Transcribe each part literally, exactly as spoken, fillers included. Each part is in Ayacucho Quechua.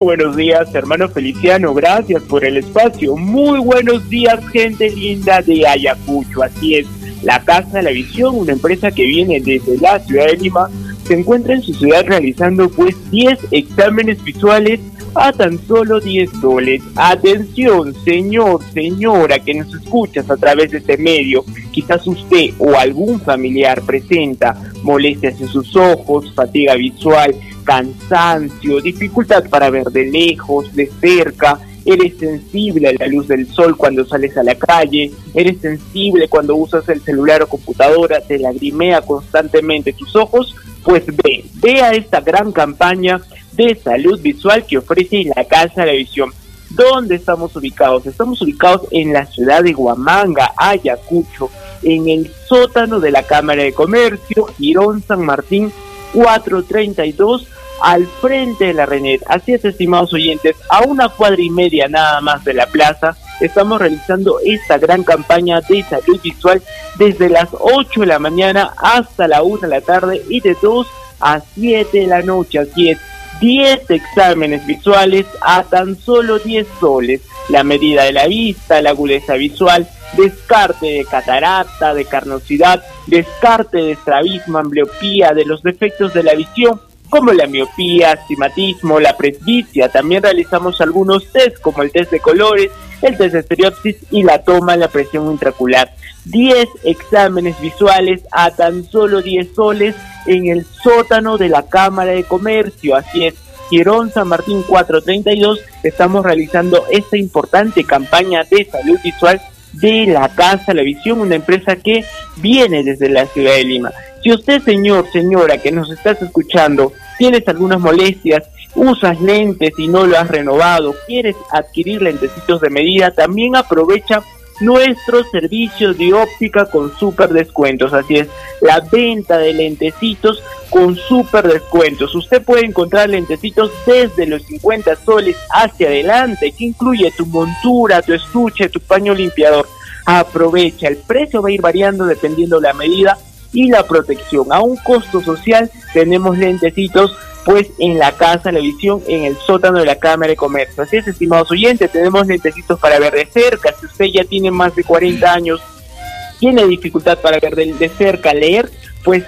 Buenos días, hermano Feliciano, gracias por el espacio. Muy buenos días, gente linda de Ayacucho. Así es, la Casa de la Visión, una empresa que viene desde la ciudad de Lima, se encuentra en su ciudad realizando pues diez exámenes visuales a tan solo diez soles. Atención, señor, señora, que nos escuchas a través de este medio. Quizás usted o algún familiar presenta molestias en sus ojos, fatiga visual, cansancio, dificultad para ver de lejos, de cerca, eres sensible a la luz del sol cuando sales a la calle, eres sensible cuando usas el celular o computadora, te lagrimea constantemente tus ojos, pues ve, ve a esta gran campaña de salud visual que ofrece la Casa de la Visión. ¿Dónde estamos ubicados? Estamos ubicados en la ciudad de Huamanga, Ayacucho, en el sótano de la Cámara de Comercio, Jirón San Martín cuatrocientos treinta y dos, al frente de la Renet. Así es, estimados oyentes, a una cuadra y media nada más de la plaza, estamos realizando esta gran campaña de salud visual desde las ocho de la mañana hasta la una de la tarde y de dos a siete de la noche. Así es, diez exámenes visuales a tan solo diez soles. La medida de la vista, la agudeza visual, descarte de catarata, de carnosidad, descarte de estrabismo, ambliopía, de los defectos de la visión, como la miopía, astigmatismo, la presbicia. También realizamos algunos test, como el test de colores, el test de estereopsis y la toma de la presión intraocular. diez exámenes visuales a tan solo diez soles en el sótano de la Cámara de Comercio. Así es, Jirón San Martín cuatrocientos treinta y dos, estamos realizando esta importante campaña de salud visual de la Casa de la Visión, una empresa que viene desde la ciudad de Lima. Si usted, señor, señora, que nos estás escuchando, tienes algunas molestias, usas lentes y no lo has renovado, quieres adquirir lentecitos de medida, también aprovecha nuestro servicio de óptica con súper descuentos. Así es, la venta de lentecitos con súper descuentos. Usted puede encontrar lentecitos desde los cincuenta soles hacia adelante, que incluye tu montura, tu estuche, tu paño limpiador. Aprovecha, el precio va a ir variando dependiendo la medida y la protección. A un costo social tenemos lentecitos pues en la Casa de la Visión, en el sótano de la Cámara de Comercio. Así es, estimados oyentes, tenemos lentecitos para ver de cerca. Si usted ya tiene más de cuarenta años, tiene dificultad para ver de, de cerca, leer, pues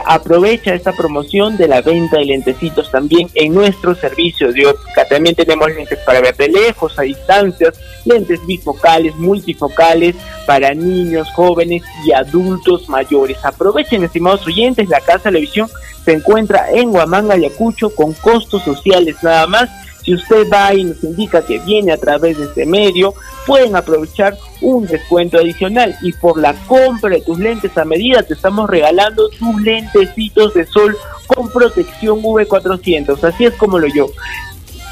aprovecha esta promoción de la venta de lentecitos también en nuestro servicio de óptica. También tenemos lentes para ver de lejos, a distancias, lentes bifocales, multifocales, para niños, jóvenes y adultos mayores. Aprovechen, estimados oyentes, la Casa de la Visión se encuentra en Huamanga, Ayacucho, con costos sociales nada más. Si usted va y nos indica que viene a través de este medio, pueden aprovechar un descuento adicional. Y por la compra de tus lentes a medida, te estamos regalando tus lentecitos de sol con protección V cuatrocientos. Así es como lo yo.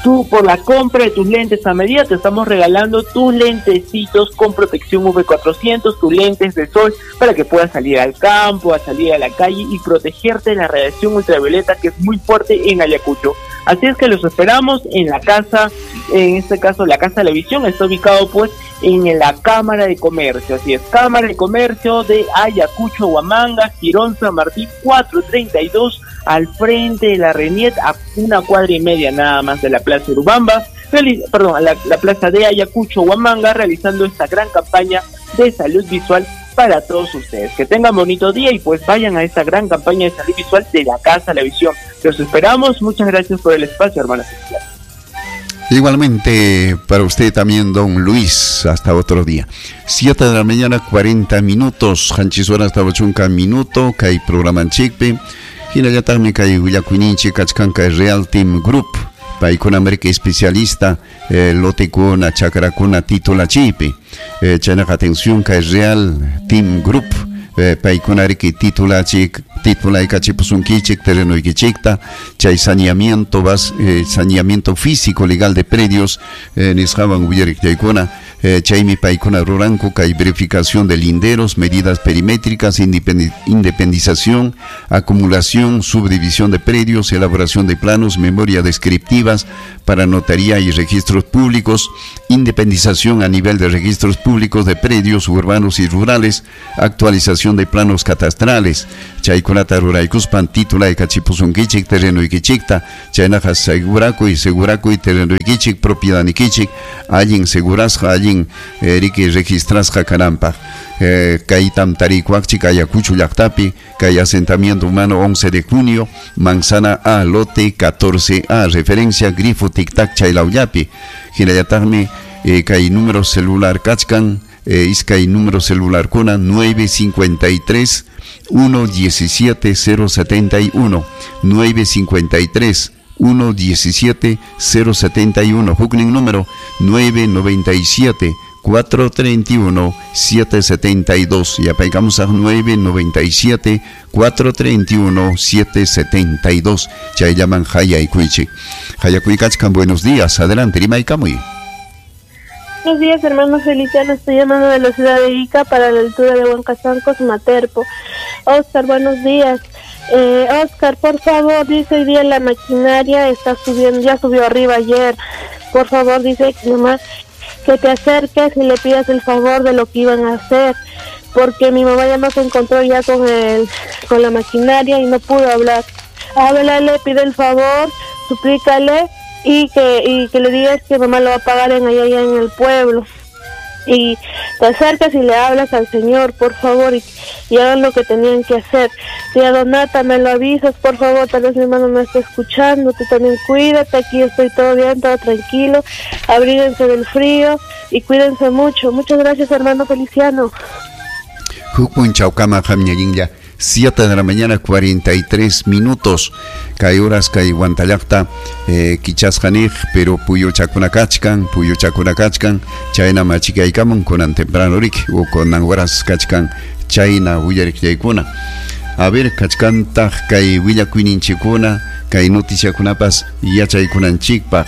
Tú, por la compra de tus lentes a medida, te estamos regalando tus lentecitos con protección V cuatrocientos, tus lentes de sol, para que puedas salir al campo, a salir a la calle y protegerte de la radiación ultravioleta, que es muy fuerte en Ayacucho. Así es que los esperamos en la casa, en este caso la Casa de la Visión, está ubicado pues en la Cámara de Comercio. Así es, Cámara de Comercio de Ayacucho, Huamanga, Jirón San Martín cuatrocientos treinta y dos, al frente de la Reniet, a una cuadra y media nada más de la Plaza Urubamba, reali-, perdón, a la, la Plaza de Ayacucho, Huamanga, realizando esta gran campaña de salud visual para todos ustedes. Que tengan bonito día y pues vayan a esta gran campaña de salud visual de la Casa de la Visión. Los esperamos. Muchas gracias por el espacio, hermano. Igualmente para usted también, don Luis. Hasta otro día. Siete de la mañana, cuarenta minutos. Hanchisuara hasta ochunca minuto. Kay programa chikpi. Hinallataqmi kay willakuyninchik kachkan kay Real Team Group. Paykuna América especialista, eh, lotekuna, chakrakuna, titulachipi. Eh, chaynaqa atención kay Real Team Group. Eh, paykuna riki titulachik, titulaykachipusunkichik, terrenoykichikta, chay saneamiento, vas, eh, saneamiento físico legal de predios, eh, nisqawan willarik chaykuna, eh, chaymi paykuna ruranku kay verificación de linderos, medidas perimétricas, independi-, independización, acumulación, subdivisión de predios, elaboración de planos, memoria descriptivas para notaría y registros públicos, independización a nivel de registros públicos de predios urbanos y rurales, actualización de planos catastrales. Chaykunata Chaykunata ruraykuspan titulaykachipusunkichik terrenuykichikta chaynaqa segurakuy segurakuy terrenuykichik propiedadnikichik allin segurasqa allin eh, riki registrasqa kananpaq eh, kaytam tarikuaqchik Ayacucho llaqtapi kay asentamiento humano once de junio manzana A lote catorce A referencia grifo tic-tac chaylawllapi hinallataqmi eh, kay número celular kachkan eh, iskay número celular kuna nueve cincuenta y tres uno diecisiete cero setenta y uno nueve cincuenta y tres uno diecisiete cero setenta y uno huknin número nueve noventa y siete cuatro treinta y uno siete setenta y dos y apaigamos a nueve noventa y siete cuatro treinta y uno siete setenta y dos chay llaman Hayaykuichik Hayakuikachkan buenos días adelante Rimaykamuy. Buenos días, hermano Feliciano. Estoy llamando de la ciudad de Ica para la altura de Huancasancos, Materpo. Oscar, buenos días. Eh, Oscar, por favor, dice hoy día la maquinaria está subiendo, ya subió arriba ayer. Por favor, dice que nomás que te acerques y le pidas el favor de lo que iban a hacer, porque mi mamá ya no se encontró ya con el, con la maquinaria y no pudo hablar. Háblale, pide el favor, suplícale. Y que, y que le digas que mamá lo va a pagar en allá, allá en el pueblo. Y te acercas y le hablas al señor, por favor, y, y hagan lo que tenían que hacer. Tía Donata, me lo avisas, por favor, tal vez mi hermano no está escuchando, tú también cuídate, aquí estoy todo bien, todo tranquilo, abríguense del frío y cuídense mucho. Muchas gracias, hermano Feliciano. Hukun chawkama hamñallinlla. siete de la mañana, cuarenta y tres minutos. Kay horas kay Huantallaqta eh, kichasqaniq, pero puyuchakuna kachkan, puyuchakuna kachkan, chayna machikaykamun kunan temprano rik, u kunan horas kachkan, chayna willariqllaykuna. A ver, kachkantaq kay willakuyninchikuna, kay noticiakunapas yachaykunanchikpaq.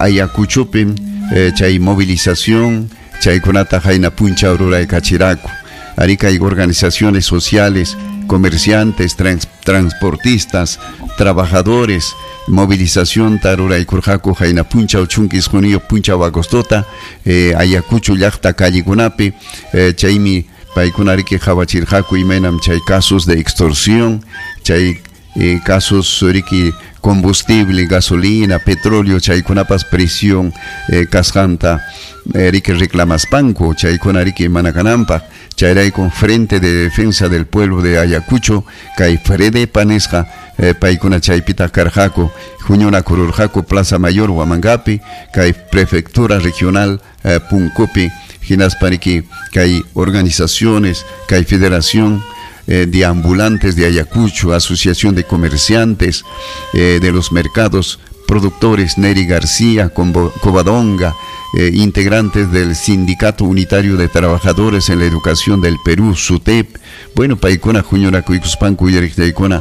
Ayacuchopi eh, chay movilización, chaykunata hayna puncha ruraykachiraku. Arica hay organizaciones sociales, comerciantes, trans, transportistas, trabajadores, movilización taruraykurqaku hayna punchaw chunka isquniyuq punchaw agostota, eh, Ayacucho llaqta callikunapi, eh, chaymi paykuna riki qhawachirqaku imaynam chay casos de extorsión, chay eh, casos riki combustible, gasolina, petróleo, chaykunapas presión eh, kasqanta eh, riki reclamaspanku, chaykuna riki mana kananpaq. Chayrayku Frente de Defensa del Pueblo de Ayacucho, kay Fredepa nisqa eh, paykuna chaypita karqaku, huñunakururqaku Plaza Mayor Huamangapi, kay Prefectura Regional eh, Punkupi, hinaspa riki kay organizaciones, kay Federación eh, de Ambulantes de Ayacucho, Asociación de Comerciantes eh, de los Mercados, productores Neri García, Covadonga, eh, integrantes del Sindicato Unitario de Trabajadores en la Educación del Perú, SUTEP. Bueno, paykuna huñunakuykuspanku uyariqtaykuna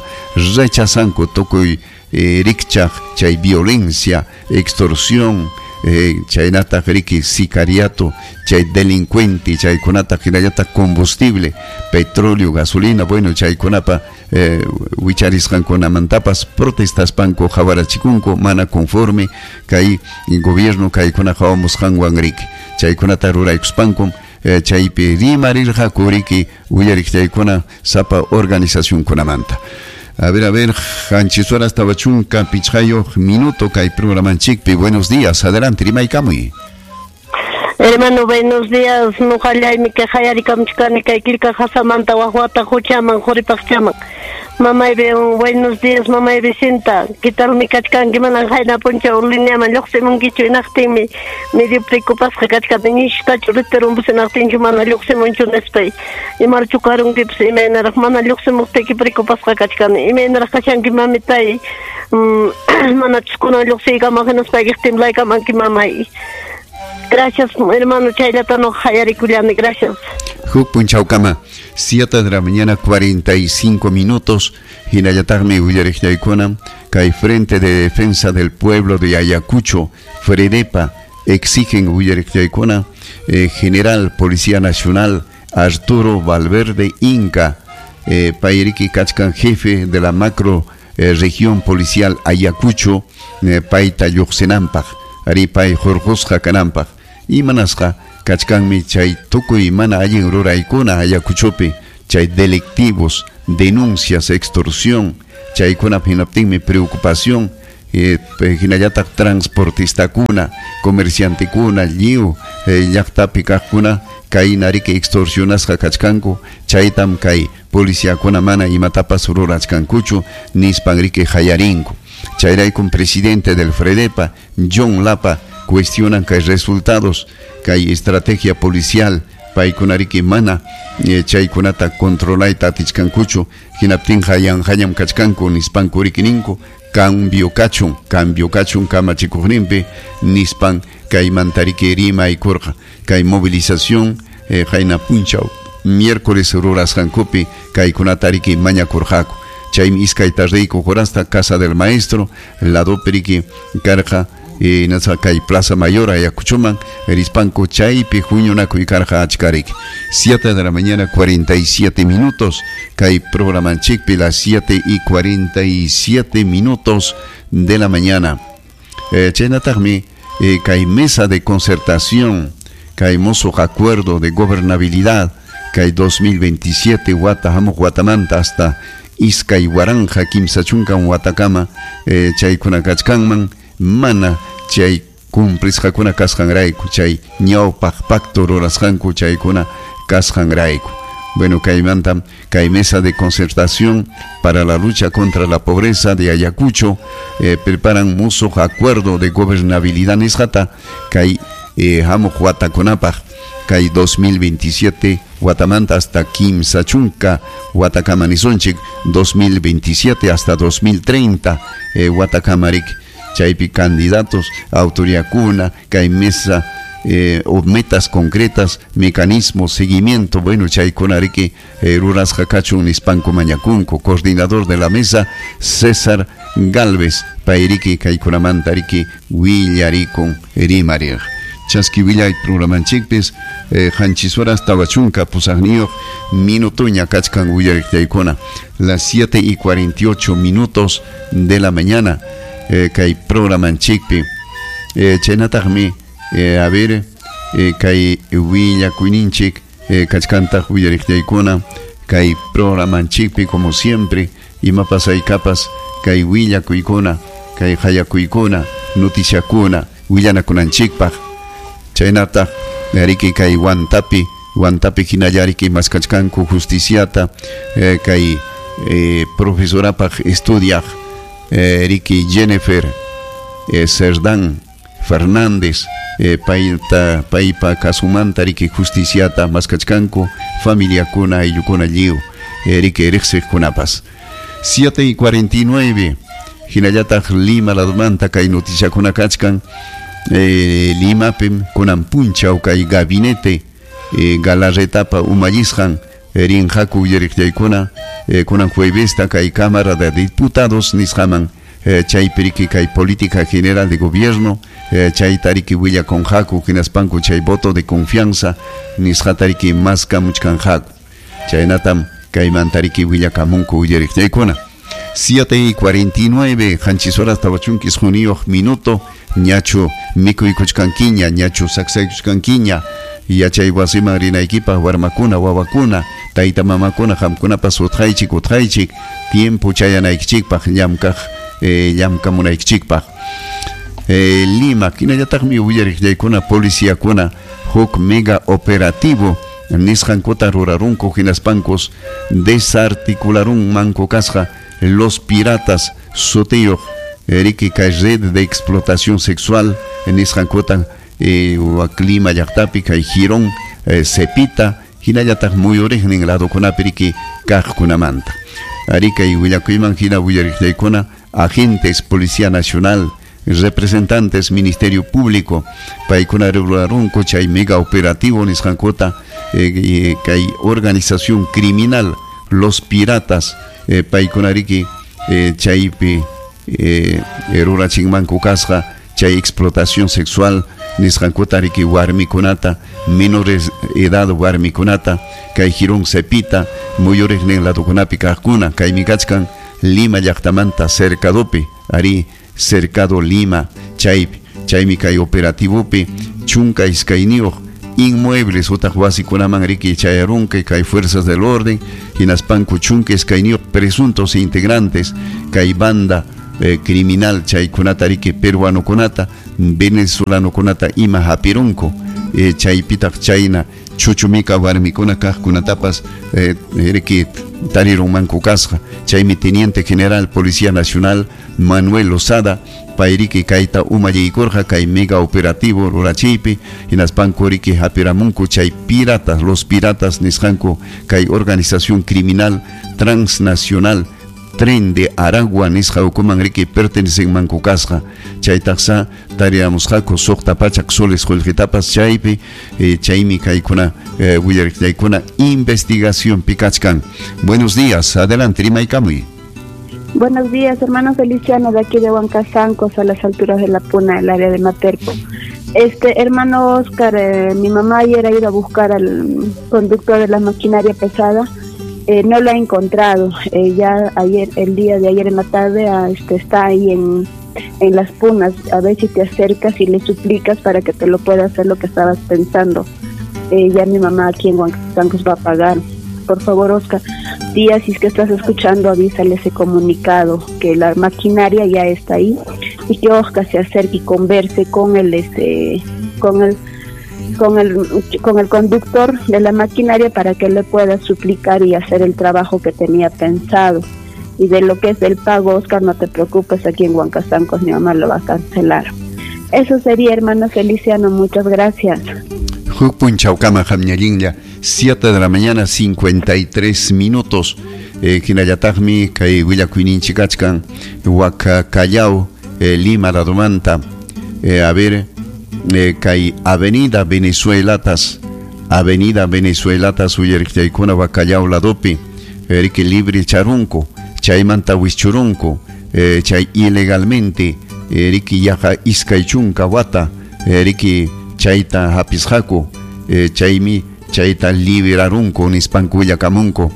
rechazanku tukuy eh, rikchaq chay violencia, extorsión, eh, chaynataq riki sicariato, chay delincuente, chaykunata hinallataq combustible, petróleo, gasolina, bueno, chaykunapa eh, wicharisqankunamantapas protestaspanku qhawarachikunku mana conforme kay gobierno kaykuna qhawamusqanwan riki chaykunata ruraykuspankum eh, chaypi rimarirqaku riki uyariqchaykuna sapa organizacionkunamanta. A ver, a ver, qanchis horas tawa chunka pichqayuq minuto kay programanchikpi. Buenos días, adelante, rimaykamuy. Hermano, buenos días. Nuqallaymi kay hayarikamchikani kay killka qasamanta waqwata huchaman quripaqchaman. Mamay, buenos días, mamay Vicenta. ¿Qué tal mi kachkanki? Manan hayna punchaw lineaman lluqsimunkichu hinaqtinmi medio preocupasqa kachkani ñishkachu riterunpas hinaqtinchu mana lluqsimunchu nispay. Imarchu karunkipas imaynaraq mana lluqsimuqtiyki preocupasqa kachkani. Imaynaraq kashanki mamitay. Manachus kunan lluqsiykaman hinaspaykiq timlaykamanki mamay. Gracias, hermano, chayllata no hayarikullani, gracias. Huk punchawkama, siete de la mañana, cuarenta y cinco minutos, hinallataqmi willariqllaykuna, kay Frente de Defensa del Pueblo de Ayacucho, Fredepa, exigen willariqllaykuna, eh, General Policía Nacional, Arturo Valverde Inca, eh, payriki kachkan jefe de la macro eh, región policial Ayacucho, eh, payta lluqsinanpaq, ari pay hurqusqa kananpaq. Imanasqa kachkanmi chay tukuy mana allin ruraykuna Ayacuchopi, chay delictivos, denuncias, extorsión, chaykuna hinaptinmi preocupación, eh, hinallataq transportistakuna, comerciantekuna, lliw eh, llaqtapi kaqkuna kayna riki extorsionasqa kachkanku, chaytam kay policiakuna mana imatapas rurachkankuchu nispan riki hayarinku. Chayraykum presidente del Fredepa, John Lapa, cuestionan kay resultados, kay estrategia policial, paykuna riki mana eh, chaykunata controlayta atichkankuchu, hinaptinqa yanqañam kachkanku nispanku riki ninku, cambio kachun, cambio kachun kamachikuqninpi nispan kaymanta riki rimaykurqa. Kay movilización eh, qayna punchaw miércoles rurasqankupi kaykunata riki mañakurqaku. Chaymi iskay tardeyku horasta Casa del Maestro, ladopi riki karqa eh, nasa kay Plaza Mayor Ayacuchoman rispanku chaypi huñunakuy karqa achka riki. siete de la mañana cuarenta y siete minutos kay programanchikpi las siete y cuarenta y siete minutos de la mañana. Eh, chaynataqmi eh, kay mesa de concertación, kay mosuq acuerdo de gobernabilidad kay dos mil veintisiete wata hamuq watamanta hasta iskay waranqa kimsa chunkan watakama eh, chaykuna kachkanman mana chay cumplisqakuna kasqanrayku, chay ñawpaq pacto rurasqanku chaykuna kasqanrayku. Bueno, kaymantam kay mesa de concertación para la lucha contra la pobreza de Ayacucho eh, preparan musuq acuerdo de gobernabilidad nisqata kay eh, hamuq watakunapaq kay dos mil veintisiete watamanta hasta kimsa chunka watakama nisunchik dos mil veintisiete hasta dos mil treinta eh, watakamariki. Chaypi candidatos, autoridadkuna, kay mesa eh, o metas concretas, mecanismos, seguimiento, bueno, chaykuna riki eh, rurasqa kachun nispanku mañakunku. Coordinador de la mesa, César Galvez, payriki kaykunamanta riki willarikun rimariq. Chaski willay programanchikpis eh, qanchis horas tawa chunka pusaqniyuq minutuña kachkan willariqtaykuna, las siete y cuarenta y ocho minutos de la mañana. Eh, kay programanchikpi eh, chaynataqmi eh, a ver eh, kay willakuyninchik eh, kachkantaq willariqtaykuna kay programanchikpi como siempre imapas aykapas kay willakuykuna kay hayakuykuna noticiakuna willanakunanchikpaq. Chaynataq riki kay Huantapi, Huantapi hinalla riki maskachkanku justiciata eh, kay eh, profesorapaq estudiaq eh, riki Jennifer eh, Cerdán Fernández eh, payta paypa kasumanta riki justiciata maskachkanku familiakuna ayllukuna lliw eh, riki riqsiqkunapas. siete y cuarenta y nueve hinallataq Lima ladomanta kay noticiakuna kachkan eh, Limapim kunan punchaw kay gabinete eh, Galarretapa umallisqan rinqaku willariqllaykuna eh, kunan juevesta kay Cámara de Diputados nisqaman eh, chaypi riki kay política general de gobierno eh, chayta riki willakunqaku hinaspanku chay voto de confianza nisqata riki maskamuchkanqaku. Chaynatam kaymanta riki willakamunku willariqllaykuna. siete y cuarenta y nueve qanchis horas tawa chunka isquniyuq minuto ñachu mikuykuchkankiña ñachu saksaykuchkankiña yachay wasiman rinaykipaq warmakuna wawakuna tayta mamakuna qamkunapas utqaychik utqaychik tiempo chayanaykichikpaq llamkaq eh, llamkamunaykichikpaq. Eh, Lima hinallataqmi willariqllaykuna policiakuna huk mega operativo nisqankuta rurarunku hinaspankus desarticularunmanku kasqa los piratas sutiyuq riki kay red de explotación sexual nisqankuta eh, Lima llaqtapi kay Girón eh, Cepita hinallataq muyuriqnin ladokunapi riki kaqkunamanta. Ari kay willakuyman hina willariqllaykuna agentes Policía Nacional, representantes Ministerio Público paykuna rurarunku chay mega operativo nisqankuta eh, eh, kay organización criminal los piratas eh, paykuna riki eh, chaypi eh, rurachinmanku kasqa chay explotación sexual nisqankuta riki warmikunata menores edad warmikunata kay Girón Cepita muyuriqnin ladokunapi kaqkuna kaymi kachkan Lima llaqtamanta cercadopi ari cercado Lima chaypi chaymi kay operativopi chunka iskayniyuq inmuebles utaq wasikunaman riki chayarunqa kay fuerzas del orden hinaspanku chunka iskayniyuq presuntos integrantes kay banda eh, criminal chaykunata riki peruanokunata venezolanokunata ima hapirunku eh, chaypitaq chayna chuchumika warmikuna kaqkunatapas eh, riki tarirunmanku kasqa. Chaymi teniente general Policía Nacional Manuel Lozada payriki kayta umallaykurqa kay mega operativo rurachiypi hinaspanku riki hapiramunku chay piratas los piratas nisqanku kay organización criminal transnacional Tren de Aragua nisqa ukuman riki pertenecenmanku kasqa. Chaytaqsa tariamusqaku suqta pachak soles qullqitapas chaypi eh, chaymi kaykuna eh, willariqllaykuna investigación pikachkan. Buenos días, adelante, rimaykamuy. Buenos días, hermano Feliciano, de aquí de Huancasancos, a las alturas de la Puna, el área de Materco. Este, hermano Oscar, eh, mi mamá ayer ha ido a buscar al conductor de la maquinaria pesada. Eh, no lo ha encontrado. Eh, ya ayer, el día de ayer en la tarde, ah, este, está ahí en, en las Punas. A ver si te acercas y le suplicas para que te lo pueda hacer lo que estabas pensando. Eh, ya mi mamá aquí en Huancasancos va a pagar. Por favor, Oscar, tía, si es que estás escuchando, avísale ese comunicado, que la maquinaria ya está ahí y que Oscar se acerque y converse con el, este, con el, con el, con el conductor de la maquinaria para que le pueda suplicar y hacer el trabajo que tenía pensado. Y de lo que es el pago, Oscar, no te preocupes, aquí en Huancasancos mi mamá lo va a cancelar. Eso sería, hermano Feliciano, muchas gracias. Huk punchawkama hamñallinlla, siete de la mañana, cincuenta y tres minutos. Eh, hinallataqmi kay willakuyninchik kachkan Huacacallao, eh, Lima ladomanta. Eh, a ver, eh, kay Avenida Venezuelatas, Avenida Venezuelatas uyariqllaykuna Huacallao ladopi, eh, riki libre charunku, chaymanta wischurunku, eh, chay ilegalmente, eh, riki yaqa iskay chunka wata, eh, riki chayta hapisqaku, eh, chaymi chayta liberarunku nispanku willakamunku.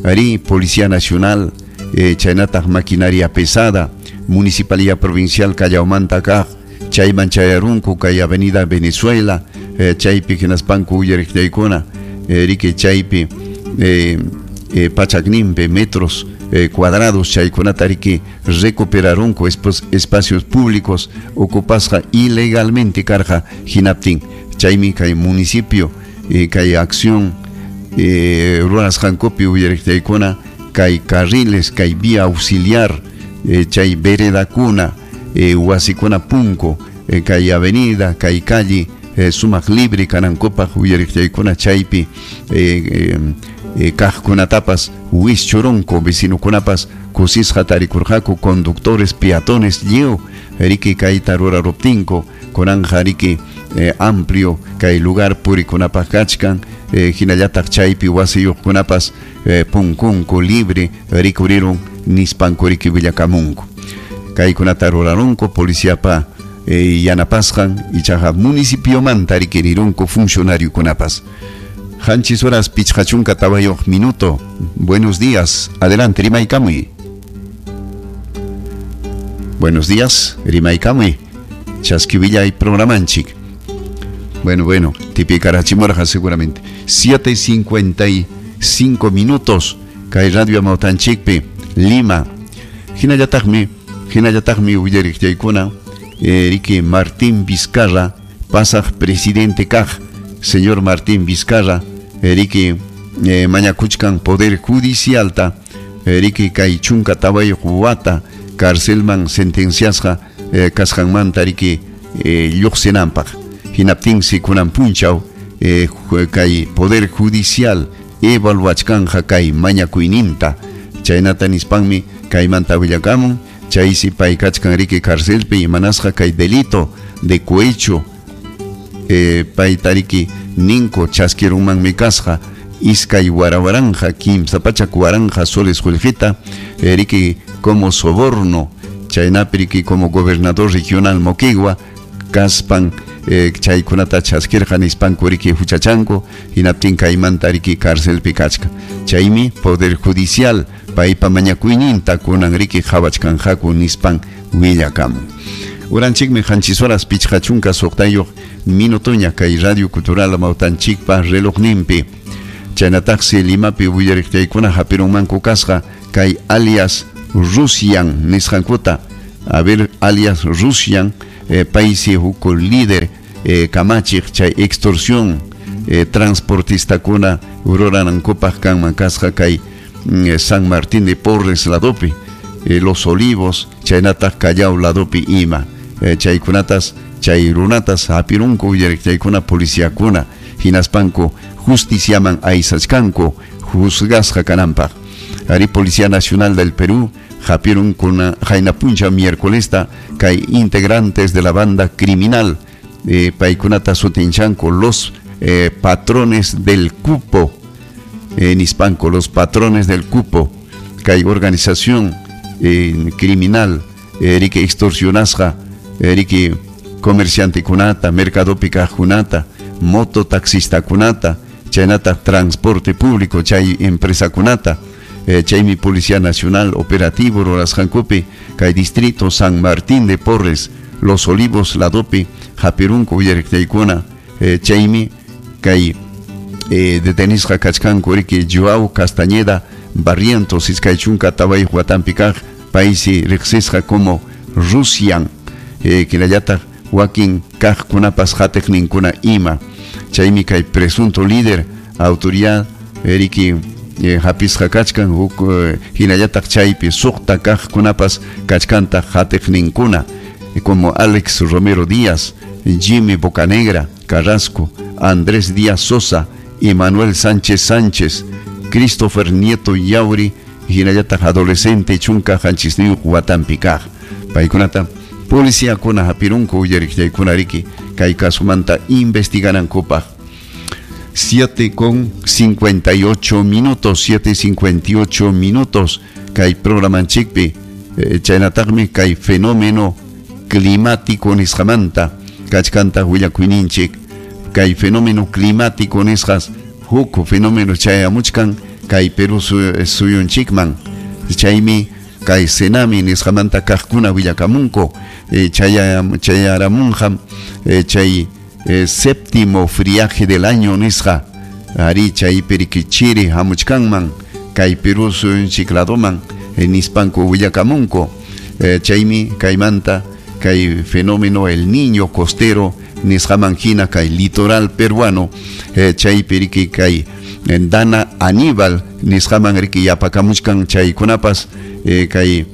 Ari Policía Nacional, eh, chaynataq maquinaria pesada, Municipalidad Provincial Callaomanta kaq, chayman chayarunku kay Avenida Venezuela, eh, chaypi hinaspanku uyariqllaykuna, eh, riki chaypi eh, eh, pachakninpi metros eh, cuadrados chaykunata riki recuperarunku espacios públicos ocupasqa ilegalmente karqa hinaptin. Chaymi kay municipio eh, kay acción eh, rurasqankupi uyariqllaykuna kay carriles, kay vía auxiliar, eh, chay veredakuna, eh, wasikuna punku, eh, kay avenida, kay calle, eh, sumaq libre kanankupaq uyariqllaykuna chaypi eh, eh, eh, kaqkunatapas wischurunku vecinokunapas kusisqa tarikurqaku conductores, peatones lliw riki kayta ruraruptinku kunanja riki eh, amplio kay lugar purikunapaq kachkan, eh, hinallataq chaypi wasiyuqkunapas eh, punkunku libre rikurirun nispanku riki willakamunku. Kaykunata rurarunku policiapa eh, yanapasqan ichaqa municipiomanta rikirirunku funcionariokunapas. Hanchis horas pichqa chunka tawayuq minuto. Buenos días, adelante, rimaykamuy. Buenos días, rimaykamuy. Chaskivillay programanchik. Bueno, bueno, tipicarachimorja seguramente. siete cincuenta y cinco minutos. Kay Radio Amautanchikpi, Lima. Hinallataqmi, hinallataqmi willariqllaykuna, eh, riki Martín Vizcarra, pasaq presidente kaq, señor Martín Vizcarra, riki eh, mañakuchkan Poder Judicialta, riki kay chunka tawayuq wata carcelman sentenciasqa eh, kasqanmanta riki eh, lluqsinanpaq. Hinaptinsi kunan punchaw eh, kay Poder Judicial evaluachkanja kay mañakuyninta. Chaynata nispanmi kaymanta willakamun, chaysi pay kachkan riki carcelpi imanasqa kay delito de cohecho eh, payta riki ninko chaskirunmanmi kasqa iskay warawaranja kimsa pachak waranja soles qullqita eh, riki como soborno, chaynapi riki como gobernador regional Moquegua kaspan eh, chaykunata chaskirqa nispanku riki huchachanku hinaptin kaymanta riki carcelpi kachka. Chaymi Poder Judicial paypa mañakuyninta kunan riki qhawachkanqaku nispan willakamun. Uranchikmi qanchis horas pichqa chunka suqtayuq minutoña kay Radio Cultural Amawtanchikpa relojninpi. Chaynataqsi Limapi willariqtaykuna hapirunmanku kasqa kay alias Rusian nisqankuta. A ver, alias Rusian, eh, paysi huk líder eh, kamachiq chay extorsión eh, transportistakuna ruranankupaq kanman kasqa kay mm, San Martín de Porres ladopi, eh, Los Olivos, chaynataq Callao ladopi ima. Eh, chaykunatas, chay runatas hapirunku willariqtaykuna policiakuna hinaspanku justiciaman aysachkanku juzgasqa kananpaq. Ari Policía Nacional del Perú hapirunkuna qayna puncha miércolesta kay integrantes de la banda criminal eh, paykunata sutinchanku los eh, patrones del cupo, en hispanco, los patrones del cupo, kay organización eh, criminal, eh, extorsionasqa, eh, comerciante kunata, mercadopi kaqkunata, mototaxista kunata, chaynata transporte público, chay empresa kunata, eh, chaymi Policía Nacional operativo rurasqankupi kay distrito San Martín de Porres, Los Olivos ladopi, hapirunku willariqtaykuna, eh, chaymi kay eh, detenisqa kachkanku riki Joao Castañeda Barrientos iskay chunka tawayuq watanpi kaq paysi riqsisqa como Rusian, eh, hinallataq wakin kaqkunapas hatiqninkuna ima. Chaymi kay presunto líder autoridad riki eh, hapisqa kachkan huk eh, hinallataq chaypi suqta kaqkunapas kachkantaq hatiqninkuna eh, como Alex Romero Díaz, Jimmy Bocanegra Carrasco, Andrés Díaz Sosa, Emanuel Sánchez Sánchez, Christopher Nieto Yauri, hinallataq adolescente chunka qanchisniyuq watanpi kaq. Paykunata policiakuna hapirunku willariqtaykuna riki kay kasumanta investiganankupaq. siete con cincuenta y ocho minutos, siete cincuenta y ocho minutos, kay programanchikpi, eh, chaynataqmi kay fenómeno climático nisqamanta kachkanta willakuyninchik. Kay fenómeno climático nisqas huk fenómeno chayamuchkan kay Perú suyunchikman. Chaymi kay Senami nisqamanta kaqkuna willakamunku, eh, chaya, chayaramunqam, eh, chay eh, séptimo friaje del año nisqa ari chaypi riki chiri hamuchkanman kay Perú suyunchik ladoman, eh, nispanku willakamunku. Eh, chaymi kaymanta kay fenómeno el niño costero nisqaman hina kay litoral peruano, eh, chaypi riki kay Dana Aníbal nisqaman riki yapakamuchkan chaykunapas, eh, kay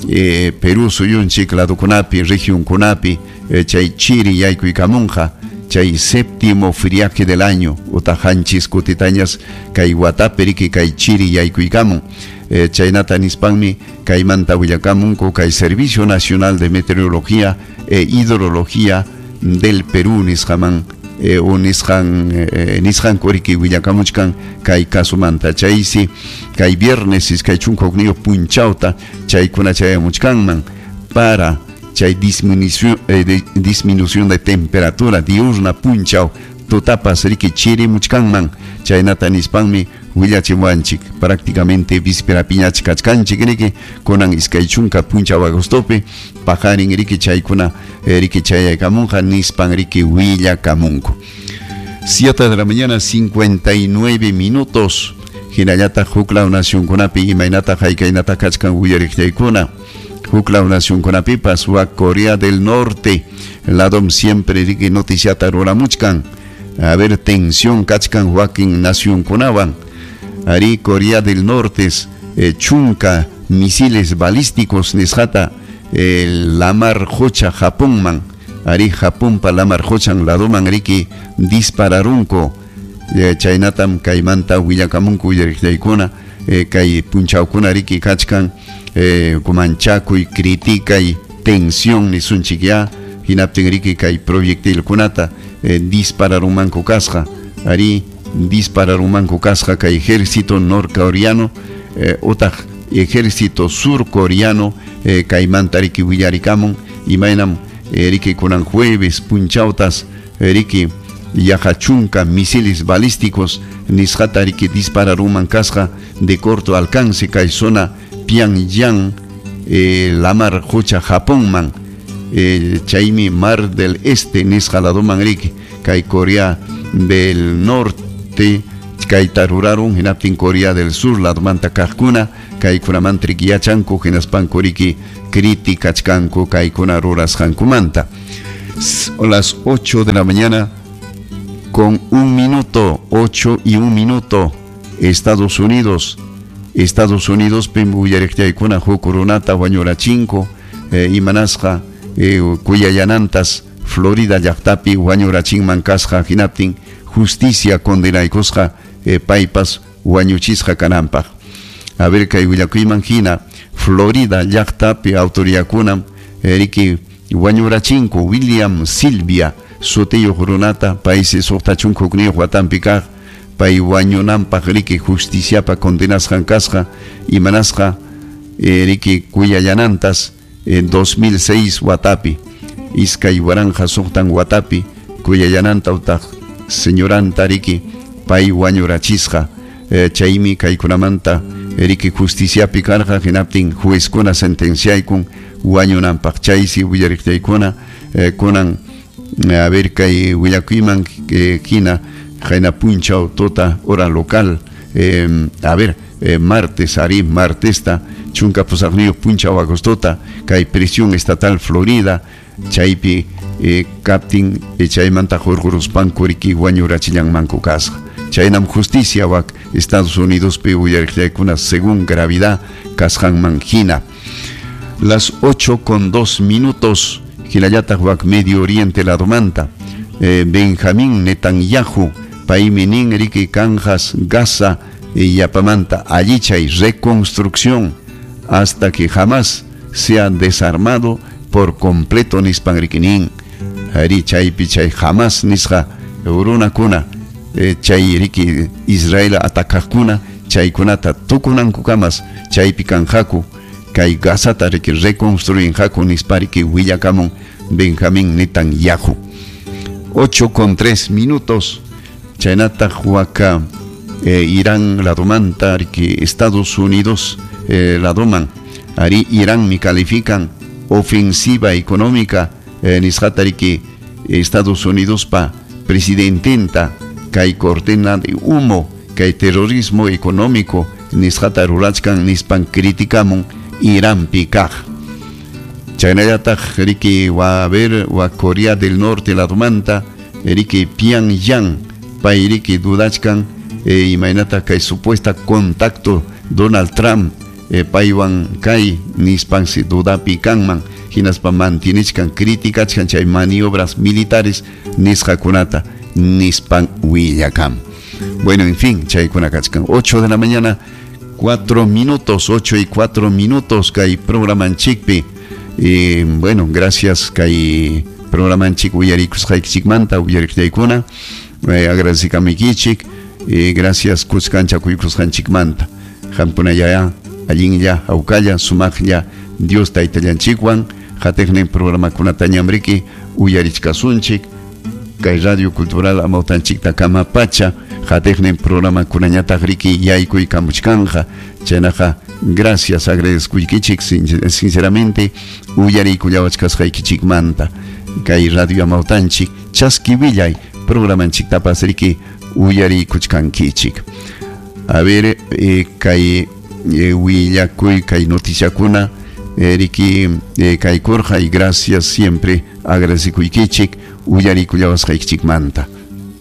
eh, Perú suyunchik ladokunapi regionkunapi, eh, chay chiri yaykuykamunqa chay séptimo friaje del año utaq qanchis kutitañas kay watapi riki kay chiri yaykuykamun. Eh, chaynata nispanmi kaymanta willakamunku kay Servicio Nacional de Meteorología e Hidrología del Perú nisqaman, eh, o nisqan, eh, nisqanku riki willakamuchkan kay kasumanta. Chaysi kay viernes iskay chunka hukniyuq punchawta chaykuna chayamuchkanman para chay disminución, eh, de, disminución de temperatura diurna punchaw tutapas riki chirimuchkanman. Chaynata nispanmi willachiwanchik prácticamente víspera piñach kachkanchik riki kunan iskay chunka punchaw agostopi paqarin riki chaykuna eh, riki chayaykamunqa nispan riki willakamunku. Siete de la mañana cincuenta y nueve minutos. Hinallataq huklaw nacionkunapi imaynataq haykaynataq kachkan willariqtaykuna. Huklaw nacionkunapipas wa Corea del Norte ladom siempre riki noticiata ruramuchkan. A ver, tensión kachkan wakin nacionkunawan. Ari Corea del Norte eh, chunka misiles balísticos nisqata eh, lamar qocha Japonman. Ari Japonpa lamar qochan ladoman riki dispararunku. Eh, chaynatam kaymanta willakamunku willariqtaykuna, eh, kay punchawkuna riki kachkan eh, kumanchakuy criticay tensión nisunchik ya hinaptin riki kay proyectilkunata eh, dispararunmanku kasqa. Ari dispararunmanku kasqa kay ejército norcoreano, eh, utaq ejército surcoreano, eh, kaymanta riki willarikamun imaynam eh, riki kunan jueves punchawtas eh, riki yaqa chunka misiles balísticos nisqata riki dispararunman kasqa de corto alcance kay zona Pyongyang, eh, lamar qocha Japonman. eh, chaymi Mar del Este nisqa laduman riki kay Corea del Norte kayta rurarun hinaptin Corea del Sur ladumanta kaqkuna kaykunamanta riki yachanku hinaspanku riki criticachkanku kaykuna rurasqankumanta. Las ocho de la mañana con un minuto, ocho y un minuto, Estados Unidos, Estados Unidos pim uyariqllaykuna huk runata wañurachinko eh, imanasqa eh, kuyayanantas Florida llaqtapi wañurachinman kasqa hinaptin justicia condenaykusqa eh, paypas wañuchisqa kananpaq. A ver kay willakuyman hina Florida llaqtapi autoridadkunam eh, riki wañurachinko William Silvia sutiyuq runata paysi suqta chunka hukniyuq watanpi kaq pay wañunanpaq riki justiciapa condenasqan kasqa imanasqa eh, riki kuyayanantas en dos mil seis watapi iskay waranqa suqtan watapi kuyayananta utaq señoranta riki pay wañurachisqa eh, chaymi kaykunamanta riki justiciapi karqa hinaptin juezkuna sentenciaykun wañunanpaq chaysi willariqllaykuna eh, kunan a ver kay willakuyman eh, hina hayna punchaw tota hora local eh, a ver eh, martes ari martesta chunka pusaqniyuq punchaw agostota kay prisión estatal Florida chaypi eh, kaptin eh, chaymanta hurquruspanku riki wañurachillanmanku kasqa. Chaynam justicia wak Estados Unidos pi uyariqllaykuna según gravedad kasqanman hina. Las ocho con dos minutos hinallataq wak Medio Oriente ladumanta eh, Benjamín Netanyahu paymi nin riki kanjas Gaza eh, yapamanta allichay reconstrucción hasta que jamás sea desarmado por completo nispan riki nin ari chaypi chay jamás nisqa runakuna eh, chay riki Israel atakaqkuna chaykunata tukunankukamas chaypi kanqaku kay Gazata riki reconstruinqaku nispa riki willakamun Benjamín Netanyahu. Ocho con tres minutos chaynataq waka eh, Irán ladumanta riki Estados Unidos eh, laduman ari Irán mi califican ofensiva económica eh, nisqata riki Estados Unidos pa presidententa kay cortina de humo kay terrorismo económico nisqata rurachkan nispan criticamun Irán kaq. Chaynallataq riki wa a ver wa Corea del Norte ladumanta riki Pyongyang pay riki dudachkan eh, imaynata kay supuesta contacto Donald Trump eh, paywan kay nispansi dudapi kanman hinaspa mantienichkan criticachkan chay maniobras militares nisqakunata nispan willakam. Bueno, en fin, chaykuna kachkan ocho de la mañana cuatro minutos, ocho y cuatro minutos kay programanchikpi. Eh, bueno, gracias kay programanchik uyarikusqaykichikmanta uyariqllaykuna eh, agradecikamikichik eh, gracias kuskancha kuykusqanchikmanta qamkunalla allinlla hawkalla sumaqlla Dios taytallanchikwan qatiqnin programakunatañam riki uyarichkasunchik kay Radio Cultural amawtanchikta kama pacha qatiqnin programakunañataq riki yaykuykamuchkanqa chaynaqa gracias agradezkuykichik sinceramente uyariykullawachkasqaykichikmanta kay Radio Amawtanchik chaski willay programanchiktapas riki uyariykuchkankichik. A ver eh, kay eh, willakuy kay noticiakuna eh, riki eh, kaykurqa y gracias siempre agradecikuykichik uyariykullawasqaykichikmanta.